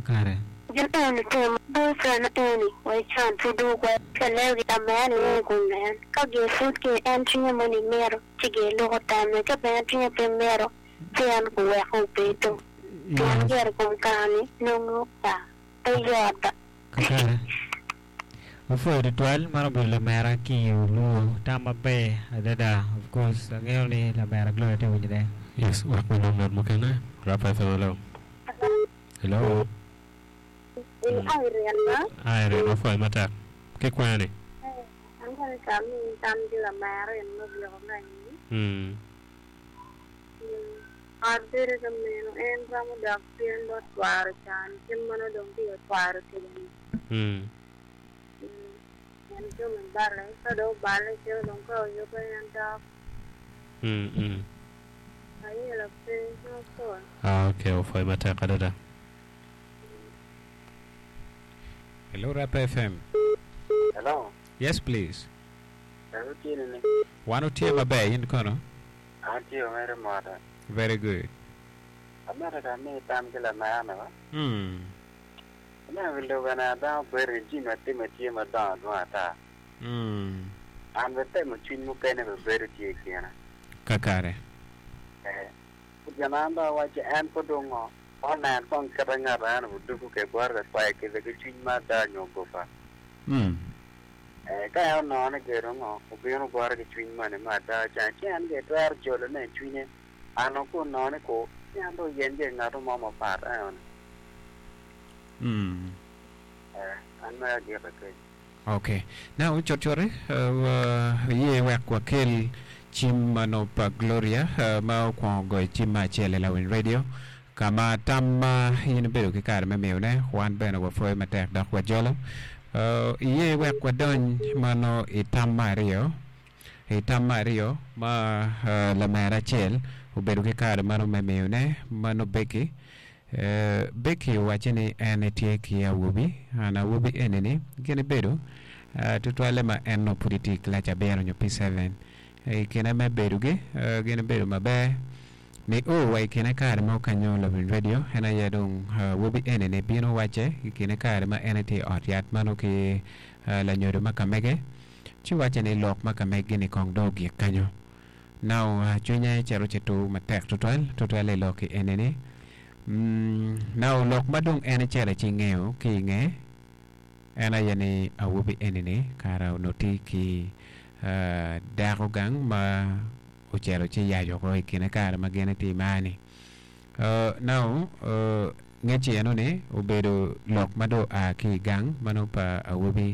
Kakare. Gin eni timo boyfriend eni wa ican pud dong okwer ka leo gi lamera ni en kun en ka gin pud ki en cwinye moni mito ci gin luko tamme ka bene cwinye pe mito ci en kuweko obedo pien Yes. gire kom kare ni nongo ka pe yot ba. Kakare. Wapwoyo tutwal, man obedo lamera ki i Oluo. Tam maber adada. Of course, angeyo ni lamera Gloria tye ka winyone. Yes, wek wanong ngat mukene. Rapa FM, hello. Hello. In Irene ma? Irene, wapwoyo matek. Ki kwene ni? Angeyo ni ka amini tam ki lamera en me byeko me anyim. Mm. Ot bedo ka meno en romo dok cen bot cware can kit ma nongo dong tye ka kwaro kwede-ni. En jami balle, ka dong oballe ci dong ka oyubbe en dok. Ayela pe ma opol. Ok, opwoyo matek adada. Hello Rap FM. Hello. Yes please. Ber wutye nini? Wan wutye maber, in kono? An tye omere mota. Very good. Amito ka ami tam ki lamera ni ba. Mm. Ineno wi lobo eni dano bedo ki jami atime tye madongo adwong ata. Mm. An bene temo cwiny mukene bene bedo tye i kine. Kakare. Eh. Gin ma an dong awacci en pud dong ngo? Onen kong kite ngat en oduku ke bote ka kwayo kica ki cwiny ma ada nyo goba. Mm. Eh, ka en onongo ni gedo ngo, obino bote ki cwiny moni me ada ca, ci en gire twero jolone i cwinye. Ano ka onongo ni ku, ci en dong oyeny gire ngat mo mapat enoni. Mm. Eh, an mere agiko kenyo. Ok. Now, cutcut-ti, uh, waye wek wakel cim ma nongo pa Gloria uh, ma okwongo goyo cim me acel i Lawiny Radio, ka ma tam ma in ibedo ki kare me miyone, wan bene wapwoyo matek dok wajolo. Uh, iye wek wadony ma nongo i tam me aryo, i tam me aryo ma uh, lamera acel obedo ki kare ma nongo me miyone, ma nongo Becky. Becky owacce ni en etye ki awobi, an awobi eni-ni gin ebedo tutwalle ma en nongo pud etye i kilaci abiro nyo P7. I kine me bedogi, gin ebedo maber nio wa i kine kare mo kanyo lawiny redio en aye dong awobi eni-ni bino wacce i kine kare ma en etye i ot yat ma nongo ki lanyodo ma ka mege ci wacce ni lok ma ka megi-ni kong dong ogik kanyo. Now cwinye cito ci tur matek tutwal, tutwal i lok eni-ni. Now lok ma dong en ecito ci ngeyo ki i nge, en aye ni awobi eni-ni kara onongo tye ki dako gang ma ocito ci yaco oko i kine kare ma gin tye i mar-ni. Now ngec eno-ni obedo lok ma dong oa ki i gang ma nongo pa awobi.